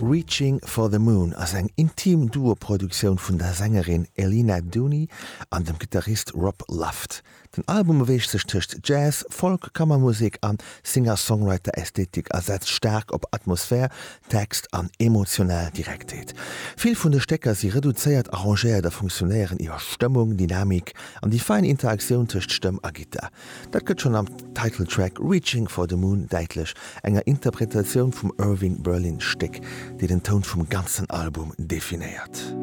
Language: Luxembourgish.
Reaching for the Moon ass eng intim Duo-Produktioun vun der Sängerin Elina Duni an dem Gittarist Rob Luft. Den Album beweegt sech tëscht Jazz, Folk, Kammermusek a Singer-Songwriter-Ästhetik a setzt staark op Atmosphär, Text an emotional Direktheet. Vill vun de Stécker si reduzéiert arrangéiert a funktionéieren iwwer Stëmmung, Dynamik an déi fein Interaktioun tëscht Stëmm a Gittar. Dat gëtt schonn am Titeltrack Reaching for the Moon däitlech, enger Interpretatioun vum Irving Berlin Stéck, déi den Toun vum ganzen Album definéiert.